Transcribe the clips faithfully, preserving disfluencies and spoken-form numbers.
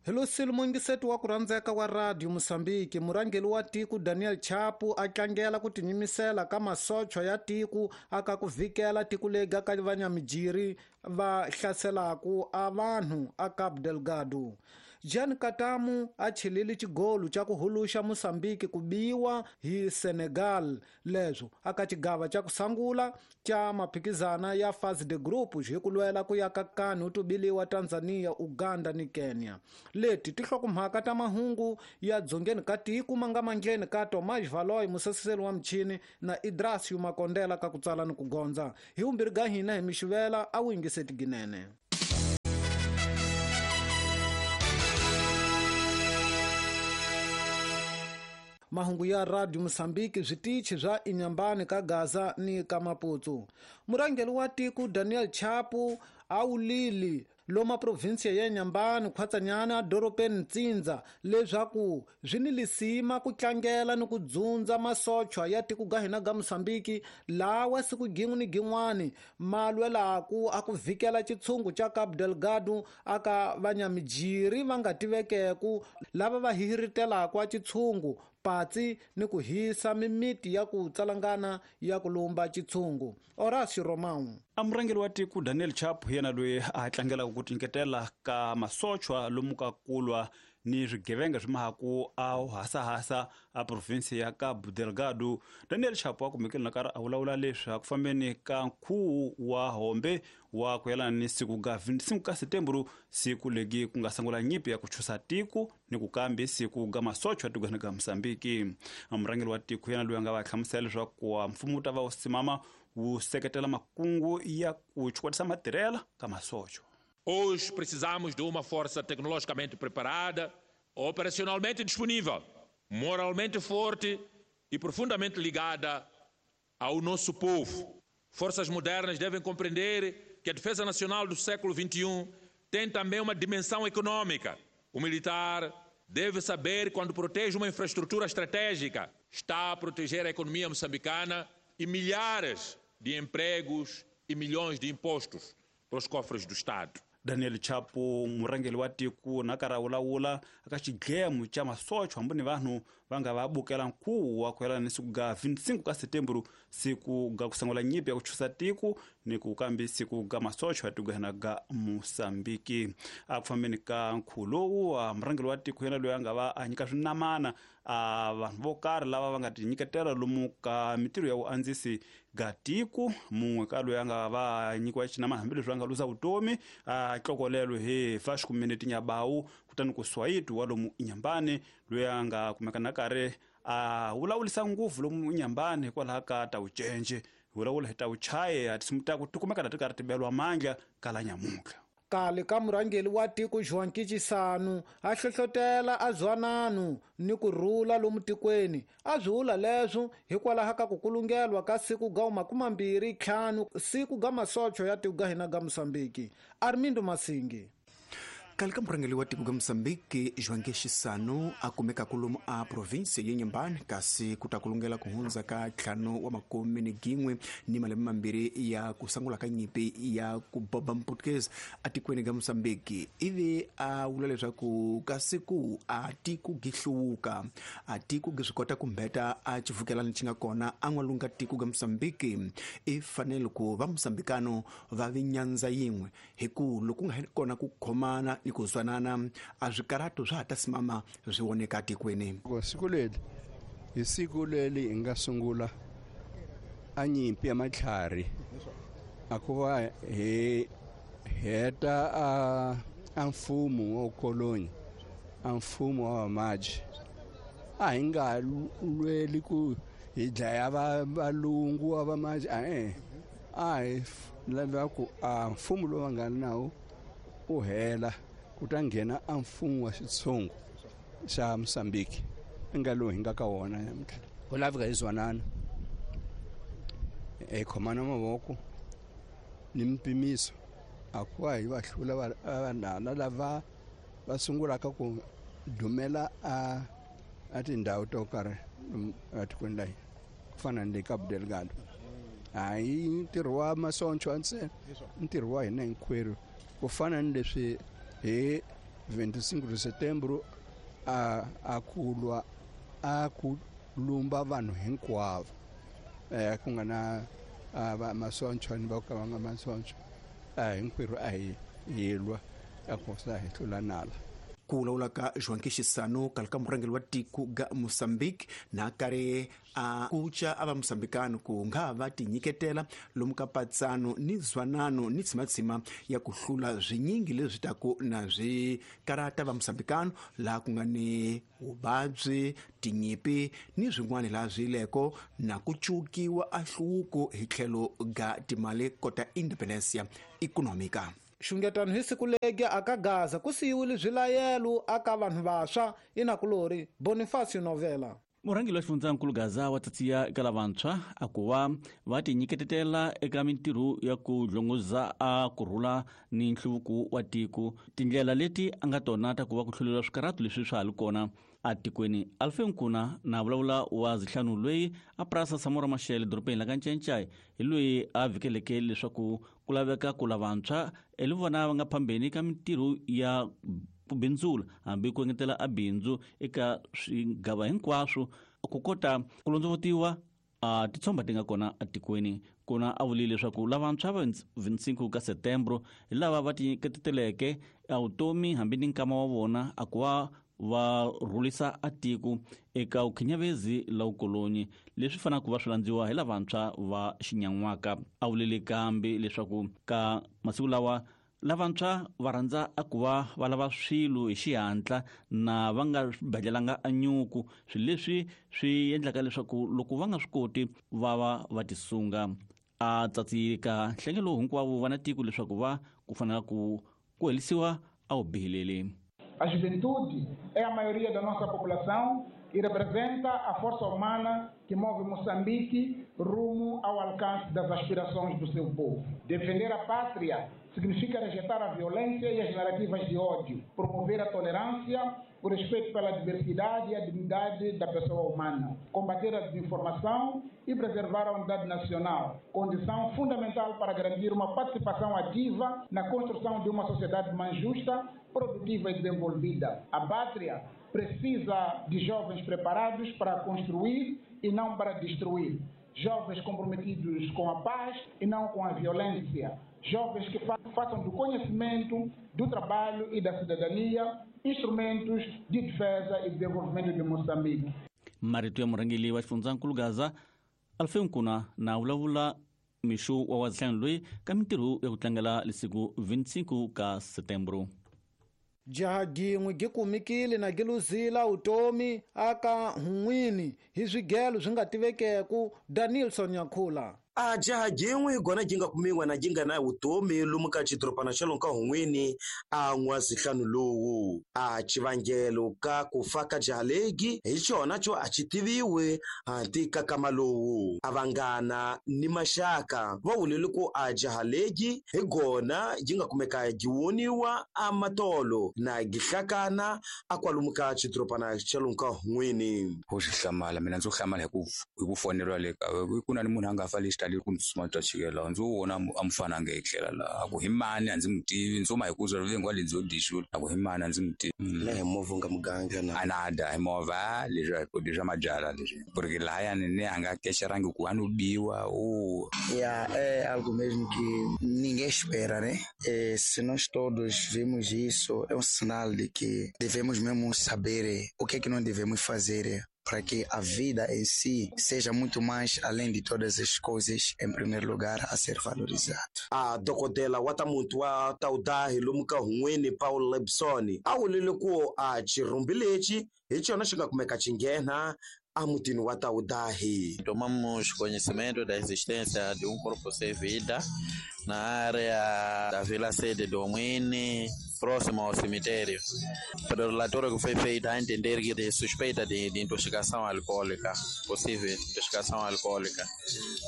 Hello mungiseti wa ku rhandzeka wa Radio Mosambiki, murhangeri wa tiko Daniel Chapo a tlangela ku tinyimisela ka masocha ya tiko aka ku vhikela tiko lega ka vanyamijiri va hlaselaku a vanhu a Cabo Delgado. Jean Katamu a chelile xigolo xa ku huluxa Mosambiki ku biwa hi Senegal leswo aka xigava xa ku sangula xa maphikizana ya phase de group hi ku lwela ku ya ka kani tubiliwa Tanzania, Uganda ni Kenya. Leti tihlokomhaka ta mahungu ya dzongeni ka tiko ma nga mandleni ka Tomás Valoy museseseli wa michini na Idrasio Makondela ka ku tsala ni ku gondza. Hi vumbirhi ga hina hi mixivela a wu yingiseti ginene. Mahungu ya Radio Mosambiki switichi swa Inhambane ka Gaza ni ka Maputo. Murhangeri wa tiko Daniel Chapo a wulile loma provinsia ya Inhambane khwatsanyana dorobeni Ntsindza leswaku swi ni lisima ku tlangela ni ku dzundza masochwa ya tiko ga hina ga Mosambiki lawa siku gin'we ni gin'wani ma lwelaku a ku vhikela xitshungu xa Cabo Delgado aka vanyamijiri va nga tivekeku lava va hihiritelaka a xitshungu patsi ni ku hisa mimiti ya ku tsalangana ya ku lumba xitshungu. Horacio Romão. A murhangeri wa tiko Daniel Chapo hi yena loyi a tlangelaka ku tinyiketela ka masochwa lomu ka kulwa ni swigevenga swi mahaku a hasahasa a provinsi ya Cabo Delgado. Daniel Chapo a kumekile na karhi a vulavula leswi ku fambeni ka nkhuvo wa hombe wa ku yelana ni siku ga vinticinco ka Setembro, siku legi ku nga sungula nyimpi ya ku chusa tiko ni ku kambi siku ga masochwa tikweni ga Mosambiki. A murhangeri wa tiko yena loyi a nga va hlamusela leswaku mfumo wu ta va wu simama wu seketela makungu ya ku chukwatisa matirhela ka masochwa. Hoje precisamos de uma força tecnologicamente preparada, operacionalmente disponível, moralmente forte e profundamente ligada ao nosso povo. Forças modernas devem compreender que a defesa nacional do século vinte e um tem também uma dimensão econômica. O militar deve saber quando protege uma infraestrutura estratégica, está a proteger a economia moçambicana e milhares de empregos e milhões de impostos para os cofres do Estado. Daniel Chapo murhangeri wa tiko na karhi a vulavula aka xidlemo xa masochwa hambi ni vanhu va nga va bukela nkhuvo wa ku yelana ni siku ga vinticinco ka Setembro, siku ga ku sungula nyimpi ya ku chusa tiko ni ku kambi siku ga masochwa ya tiko hina ga Mosambiki. A ku fambeni ka nkhuvo lowu murhangeri wa tiko yena loyi a nga va a nyika swinamana a vanhu vo karhi lava va nga tinyiketela lomu ka mitirho ya vuandzisi ga tiko. Mun'we ka loyi a nga va nyikiwa xinamana hambileswi a nga luza vutomi a tlokolelo hi Vasco Mineti Nyabawu, kutani ku Swayiti wa lomu Inhambane loyi a nga kumeka na karhi a vulavulisa ngopfu lomu Inhambane hikwalaho ka ta vucence vulavula hi ta vuchaye a tinsimu ta ku ti kumeka na ti karhi ti beriwa mandla kala nyamuntlha. Kale ka murhangeri wa tiko João Chissano a hlohlotela a zwanano ni ku rhula lomu tikweni. A swi vula leswo hikwalaho ka ku kulungelwa ka siku ga makumambirhi ntlhanu siku ga masocho ya tiko ga hina ga Mosambiki. Armindo Masingi. Kale ka murhangeri wa tiko ga Mosambiki João Chissano a kumeka kolomu a provinsi ya Inhambane kasi ku ta kulungela ku hundza ka ntlhanu wa makume ni gin'we ni malembe mambirhi ya ku sungula ka nyimpi ya ku boba Mportuguese atikweni ga Mosambiki. Ivi a vula leswaku ka siku a tiko gi hluvuka, a tiko gi swi kota ku mbeta a xivukelani xi nga kona a n'walunga tiko ga Mosambiki. I fanele ku va Mosambikano va vi nyandza yin'we hi ku loko nga kona ku khomana ni ku zwanana a swikarato swa ha ta simama swi voneka tikweni. Siku leri hi siku leri hi nga sungula a nyimpi ya matlhari a ku va hi heta a a mfumo wa koloni, a mfumo wa vamaji. A hi nga lweli ku hi dlaya valungu wa vamaji, a a hi lava ku a mfumo lowu va nga nawo u hela ku ta nghena a mfumo wa xitshungu xa Mosambiki nga lowu hi nga ka wona namuntlha. Ku laveka hi zwanana, hi khomana mavoko ni mpimiso a ku va hi va hlula vanhana lava va sungulaka ku dumela a a tindhawu to karhi etikweni la hina ku fana ni le Cabo Delgado. Hayi ntirho wa masoncho ntsena, ntirho wa hina hinkwerhu ku fana ni leswi hi vinte e cinco de setembro a a ku lwa a ku lumba vanhu hinkwavo eh ku nga na va masoncho ni va ka va nga masoncho a hinkwerhu a hi hi lwa a ku sa hi hlula nala. Ku vulavula ka Joaquim Chissano kale ka murhangeri wa tiko ga Mozambique na karhi a kuca a va Mozambikano ku nga va tinyiketela lomu ka patsano ni zwanano ni tsimatsima ya ku hlula swinyingi leswi taku na swi karata va Mozambikano laha ku nga ni vuvabyi, tinyipi ni swin'wana laha swi leko na ku cukiwa a hluvuko hi tlhelo ga timali kota independencia econômica. Xungetano hi siku legi aka Gaza ku siyiwile swilayelo aka vanhu vantshwa inakulori Bonifacio Novela. Murhangeri wa xifundzankulu Gaza wa tsatsiya eka lavantshwa a ku va va tinyiketetela eka mintirho ya ku dlongoza a kurhula ni nhluvuko wa tiko. Tindlela leti a nga tona ta ku va ku hluleriwa swikarhato leswi swa ha li kona atikweni. Alfe Nkuna na vulavula wa zihlanu loyi a purasa Samora Machel dorobeni la ka Ncencai hi loyi a vhikeleke leswaku ku laveka ku lavantshwa eli vona va nga phambeni ka mintirho ya ku bindzula hambi ku engetela a bindzu eka swigava hinkwaswo ku kota ku londzovotiwa a titshomba ti nga kona atikweni. Kona a vulile leswaku lavantshwa va vintsinku ka setembro hi lava va tinyiketeleke a vutomi hambi ni nkama wa vona a ku va va rhulisa a tiko eka ukhinyavezi la ukolonyi leswi fanaka va swi landziwa hi lavantshwa va xinyan'waka. A vulile kambe leswaku ka masiku lawa lavantshwa va rhandza a ku va va lava swilo hi xihatla na va nga badlelanga a nyuku, swilo leswi swi endlaka leswaku loko va nga swi koti va va va tisunga. A tsatsika nhlengelo hinkwavo va na tiko leswaku va ku fanela ku ku helisiwa a wu bihileli. A juventude é a maioria da nossa população e representa a força humana que move Moçambique rumo ao alcance das aspirações do seu povo. Defender a pátria significa rejeitar a violência e as narrativas de ódio, promover a tolerância, o respeito pela diversidade e a dignidade da pessoa humana, combater a desinformação e preservar a unidade nacional, condição fundamental para garantir uma participação ativa na construção de uma sociedade mais justa, produtiva e desenvolvida. A pátria precisa de jovens preparados para construir e não para destruir. Jovens comprometidos com a paz e não com a violência. Jovens que fa façam do conhecimento, do trabalho e da cidadania instrumentos de defesa e desenvolvimento de Moçambique. Marito ya murhangeri wa xifundzankulu Gaza Alfe Nkuna na vulavula mixo wa wazihlanu loyi ka mintirho ya ku tlangela lesiku vintsinku ka setembro. Jaha gin'we gi kumikile na gi luzila utomi aka hun'wini hi swigelo swi nga tivekeku. Danielson Nyakhula. A jaha jin'we gona jinga kumiwa na jinga na vutomi lomu ka xidorobana xa lomu ka hun'wini a n'wazihlanu lowu. A xivangelo ka ku fa ka jaha legi hi xona xo a xi tiviwe hanti ka kama lowu. A vanghana ni maxaka va vulele ku a jaha legi hi gona yi nga kumeka gi woniwa a matolo na gihlakana a kwalomu ka xidorobana xa lomu ka hun'wini. Ho xi hlamala mina ndzo hlamala hi ku hi ku foneriwa le ka ku na ni munhu a nga fa lexi tali ku ndzi twa chikela ndzo vona a mufana nga etlela laha a ku hi mani a ndzi mu tivi ndzo ma hi ku zwa vengo le ndzo dixula a ku hi mani a ndzi mu tivi na hi movha nga muganga na a na da hi movha leswi ku leswi mabyala leswi porque lahayani ni a nga kexerangi ku a no biwa o Yeah, é algo mesmo que ninguém espera, né? É, se nós todos vemos isso, é um sinal de que devemos mesmo saber o que é que não devemos fazer para que a vida em si seja muito mais além de todas as coisas, em primeiro lugar, a ser valorizado. A dokodela wa ta muntu wa taudahi lomu ka hun'wini Paul Lebson a vulile ku a xirhumbi lexi hi xona xi nga kumeka xi nghena a mutini wa Taudahi. Tomamos conhecimento da existência de um corpo sem vida na área da Vila Sede do Omini, próximo ao cemitério. Pelo relatório que foi feito, a entender que de suspeita de, de intoxicação alcoólica, possível intoxicação alcoólica.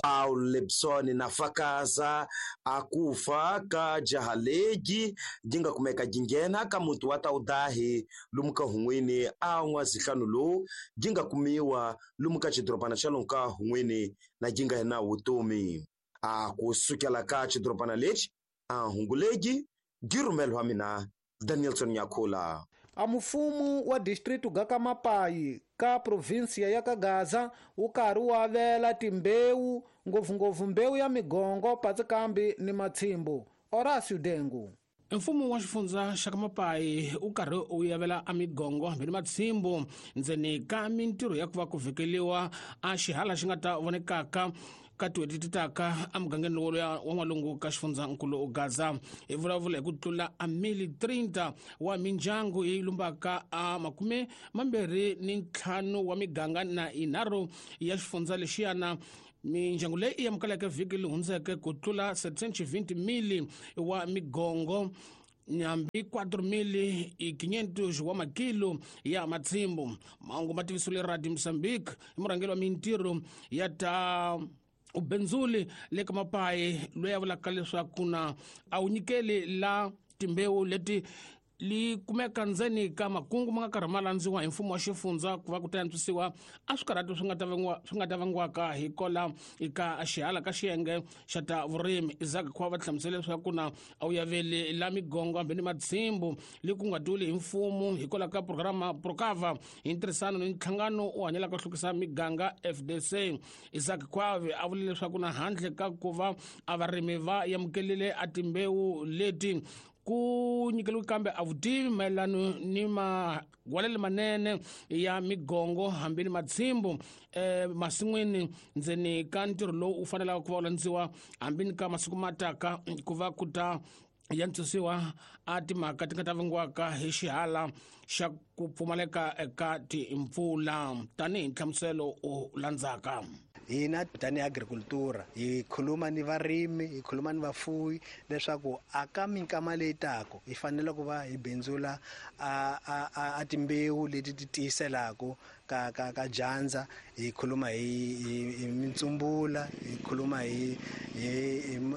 Paul Lebson na fakaza akufa ka jaha legi jinga kumeka jingena ka muntu wa Taudahi lomu ka hun'wini a n'wazihlanu lowu jinga kumiwa lomu ka xidorobana xa lomu ka hun'wini na jinga na vutomi. A ku sukela ka xidorobana lexi a hungu legi gi rhumeliwa mina Danielson Nyakula. A mufumu wa distritu ga ka Mapai ka provinsia ya ka Gaza wu karhi wu avela timbewu ngopfungopfu mbewu ya migongo patsikambi ni matshimbu. Horacio Dengu. Mfumo wa xifundza xa ka Mapai wu karhi wu yavela a migongo hambi ni matshimbu ndzeni ka mintirho ya ku va ku vhekeliwa a xihala xi nga ta vonekaka ka tin'hweti ti taka emugangeni lowu wa n'walungu ka xifundzankulu Gaza. Hi vulavula hi ku tlula a mili thirty wa mindyangu yi lumbaka a makume mambirhi ni ntlhanu wa miganga na yinharhu ya xifundza lexiyana. Mindyangu leyi yi amukeleke vhiki leyi hundzeke ku tlula seven hundred mili wa migongo hambi quatro mil quinhentos wa makilo ya matshimbu. Mahungu ma tivisiwile Radio Mozambique hi murhangeri wa mintirho ya ta ubenzuli le ka Mapai loyi a vulaka leswaku na a wu nyikeli la timbewu leti li kumeka ndzeni ka makungu ma nga karhi ma landziwa hi mfumo wa xifundza ku va ku ta antswisiwa a swikarhati swi nga ta vangiwa swi nga ta vangiwaka hi kola eka xihala ka xiyenge xa ta vurimi. Isaac Khwa va hlamusela leswaku na a wu yaveli la migongo hambi ni matshimbu li ku nga duli hi mfumo hikwalaho ka programa Procava hi ntirhisano ni nhlangano wu hanyelaka hlukisa miganga F D C. Isaac Khwa a vule leswaku na handle ka ku va a varimi va amukelile a timbewu leti ku nyikeliwe kambe a vutivi mayelano ni magwalelo manene ya migongo hambi ni matshimbu eh, masin'wini ndzeni ka ntirho lowu wu fanelaka ku va wu landziwa hambi ni ka masiku ma taka ku va ku ta ya ntswisiwa a timhaka ti nga ta vangiwaka hi xihala xa ku pfumaleka eka timpfula tanihi nhlamuselo u landzaka. Hina tanihi agricultura hi khuluma ni varimi, hi khuluma ni vafuwi leswaku aka minkama leyi taka hi fanele ku va hi bindzula a a a timbewu leti ti tiyiselaka ka ka ka dyandza. Hi khuluma hi hi mintsumbula, hi khuluma hi hi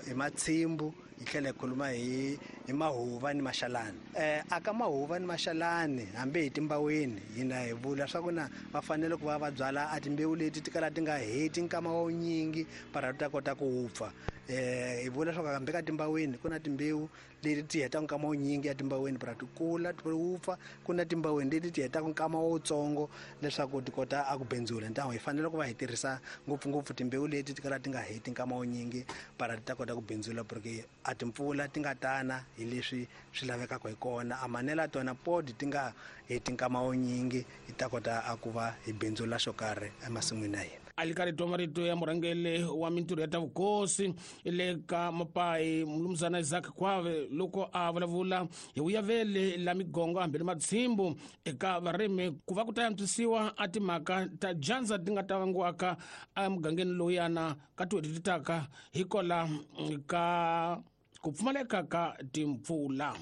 hi matshimbu, hi tlhela hi khuluma hi hi mahuva ni maxalani. Eh aka mahuva ni maxalani hambi hi timbaweni hina hi vula swa ku na va fanele ku va va byala a timbewu leti ti kala ti nga heti nkama wa wunyingi para ta kota ku wupfa. Eh hi vula swa ku hambi ka timbaweni ku na timbewu leti ti hetaka nkama wunyingi ya timbaweni para ti kula ti wupfa, ku na timbaweni leti ti hetaka nkama wutsongo leswaku ti kota a ku bindzula. Ntango hi fanele ku va hi tirhisa ngopfungopfu timbewu leti ti kala ti nga heti nkama wunyingi para ti ta kota ku bindzula, porque a timpfula ti nga tana hi leswi swi lavekaka hi kona. A manela tona podi ti nga heti nkama wunyingi hi ta kota a ku va hi bindzula xo karhi emasin'wini ya hina. A li karhi twa marito ya murhangeri wa mintirho ya ta vukosi le ka Mapai Mnumzana Isaac Khwave loko a vulavula hi vuyaveli la migongo hambi ni matshimbu eka varimi ku va ku ta antswisiwa a timhaka ta dyandza ti nga ta vangiwaka emugangeni lowuyana ka tin'hweti ti taka hikola ka ku pfumaleka ka timpfula.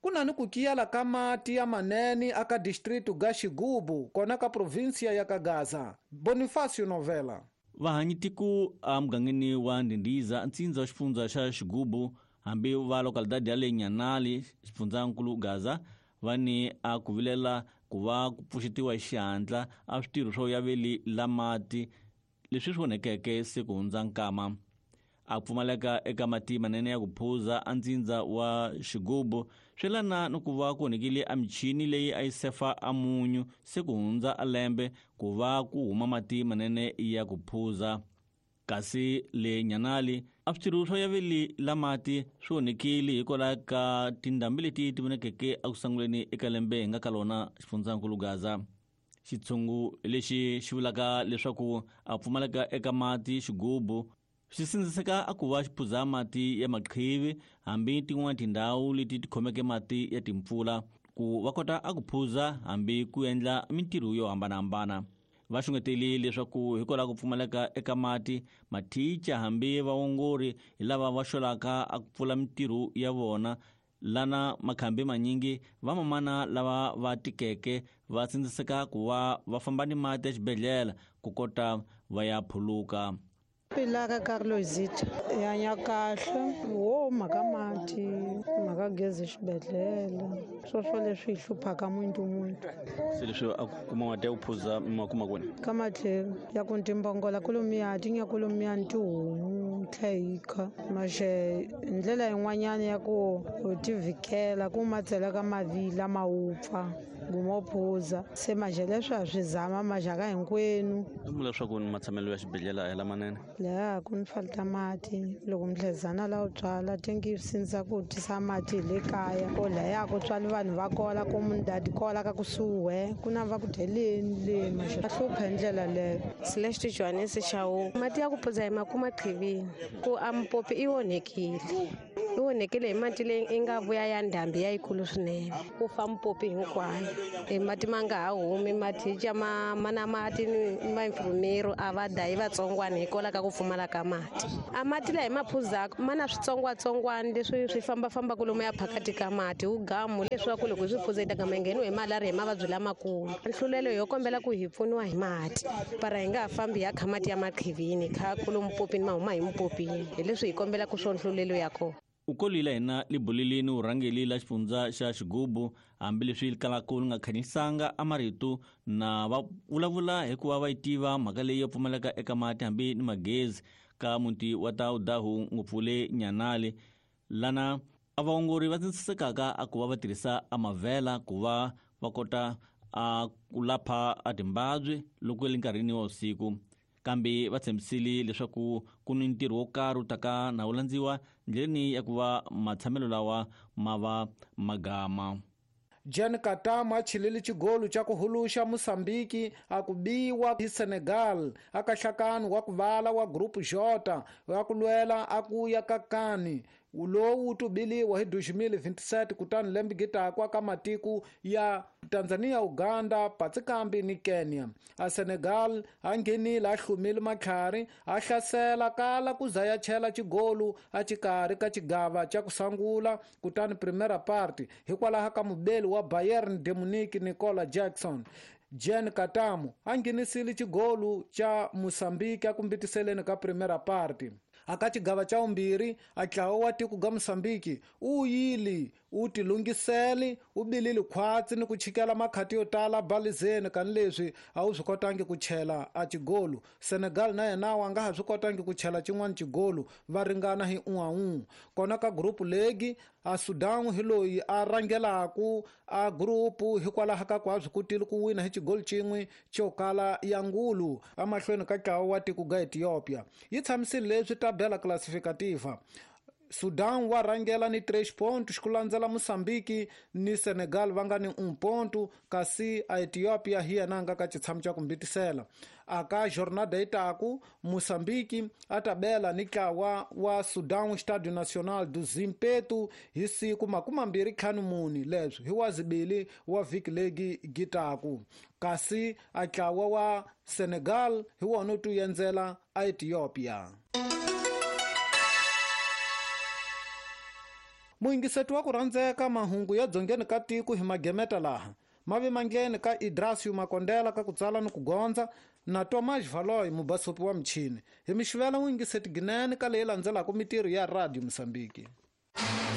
Ku na ni ku kiyala ka mati ya manene aka distritu ga Xigubu kona ka provinsia ya ka Gaza. Bonifacio Novela. Vahanyitiku emugangeni wa Ndindiza ntsindza wa xifundza xa Xigubu hambi va localidade ya le Nyanali xifundzankulu Gaza va ni a ku vilela ku va ku pfuxetiwa hi xihatla a switirho swo yaveli la mati leswi swi onhekeke se ku hundza nkama. A pfumaleka eka mati manene ya ku phuza a ntsindza wa Xigubu swi lana ni ku va ku onhekile a michini leyi a yi sefa a munyu se ku hundza a lembe ku va ku huma mati manene ya ku phuza. Kasi le Nyanali a switirho swo yaveli la mati swi onhekile hikwalaho ka tindhambi leti ti vonekeke eku sunguleni eka lembe hi nga ka lona xifundzankulu Gaza. Xitshungu lexi xi vulaka leswaku a pfumaleka eka mati Xigubu swi sindziseka a ku va xi phuza mati ya maqhivi hambi tin'wana tindhawu leti ti khomeke mati ya timpfula ku va kota a ku phuza hambi ku endla mintirho yo hambanahambana. Va xungeteli leswaku hikwalaho ku pfumaleka eka mati mathicha hambi vaongori hi lava va xolaka a ku pfula mintirho ya vona lana makhambi manyingi vamamana lava va tikeke va sindziseka ku va va famba ni mati exibedhlele ku kota va ya phuluka. Pilaka Carlosita ya hanya kahle wo mhaka mati mhaka gezi xibedhlele swo leswi hi hluphaka muntu muntu. Se leswi a kuma mati ya ku phuza ma kuma kwini? Ka matlhelo ya ku timbongola kolomiya ti nya kolomiya ni tihomu tlhe hi kha maxe ndlela yin'wanyana ya ku u tivikela ku ma tseleka mavila ma wupfa guma u phuza se maxe leswi a swi zama maxaka hinkwenu vula leswaku ni matshamelo ya xibedhlele a hi lamanene laha ku ni falta mati loko mhlezana la u tswala tingi sindza ku tisa mati hi le kaya ko laya ku tswali vanhu va kola ku mundadi kola ka kusuhi ku na va ku dyeleni le maxe a hlupha hi ndlela leyo Celeste Johannes Chau mati ya ku phuza hi makuma qhivini ku a mpopi i onhekile i onhekile hi mati leyi i nga vuya ya ndhambi ya yikulu swinene ku fa mpopi hinkwayo e mati ma nga ha humi mati ca ma ma na mati ni vainfirmero a va dayi vatsongwana hikwalaho ka ku pfumala ka mati a mati laha hi ma phuzaka ma na switsongwatsongwana leswi swi fambafambaka lomu ya phakati ka mati wu gamu leswaku loko hi swi phuza hi ta gama hi ngheniwe hi malariya hi mavabyi lamakulu nhlulelo yo kombela ku hi pfuniwa hi mati para hi nga ha fambi hi ya kha mati ya maqhivini kha kulo mpopini ma huma hi mpopini hi leswi hi kombelaka swo nhlulelo ya kona u kolile hina libulilini urhangeli la xifundza xa xigubu hambileswi kalaka li nga khanyisanga a marito na va vulavula hikuva va yi tiva mhaka leyi yo pfumaleka eka mati hambi ni magezi ka muti wa Taudahu ngopfu le Nyanale lana a vaongori va tsindzisekaka a ku va va tirhisa a mavhela ku va va kota a ku lapha a timbabyi loko le nkarhini wa vusiku kambe va tshembisile leswaku ku ni ntirho wo karhi wu taka na wu landziwa ndleleni ya ku va matshamelo lawa ma va magama Jan Katama a chilile xigolo xa ku huluxa Mosambiki a ku biwa hi Senegal aka hlakani wa ku vala wa Group J wa ku lwela a ku ya ka kani lowu wu tubiliwa hi dois mil e vinte e sete kutani lembe gitaku aka matiko ya Tanzania, Uganda, Patsikambi ni Kenya. A Senegal a nghenile a hlumile matlhari a hlasela kala ku za ya chela xigolu a xikarhi ka xigava xa ku sungula kutani primera parte hikwalaho ka mubeli wa Bayern de Munich Nicola Jackson. Jan Katamu a nghenisile xigolu xa Mosambiki a kumbitiseleni ka primera parte. Aka xigava xa vumbirhi a ntlawa wa tiko ga Mosambiki u yili u tilungiseli u bilile khwatsi ni ku chikela makhati yo tala balizeni kani leswi a wu swi kotangi ku chela a xigolu Senegal na yena wa nga ha swi kotangi ku chela xin'wana xigolu va ringana hi un'we un'we kona ka group legi a Sudan hi loyi a rhangelaku a group hikwalaho ka ku a swi kotile ku wina hi xigolu xin'we xo kala ya ngulu emahlweni ka ntlawa wa tiko ga Ethiopia yi tshamisile leswi tabela classificativa Sudan wa rhangela ni três pontos ku landzela Mosambiki ni Senegal va nga ni um ponto kasi a Ethiopia hi yena nga ka xitshamo xa ku mbitisela aka jornada itaku Mosambiki a tabela ni ntlawa wa Sudan Estádio Nacional do Zimpeto hi siku makumi mambirhi ntlhanu mune leswi hi wa zibili wa vhiki legi gitaku kasi a ntlawa wa Senegal hi wona wu tiendzela a Ethiopia. Muyingiseti wa ku rhandzeka mahungu ya dzongeni ka tiko hi magemeta laha mavi mangleni ka Idrasio Makondela ka ku tsala ni ku gondza na Tomas Valoy mubasopi wa michini hi mixivela muyingiseti ginene ka leyi landzelaka mitirho ya Radio Mosambiki.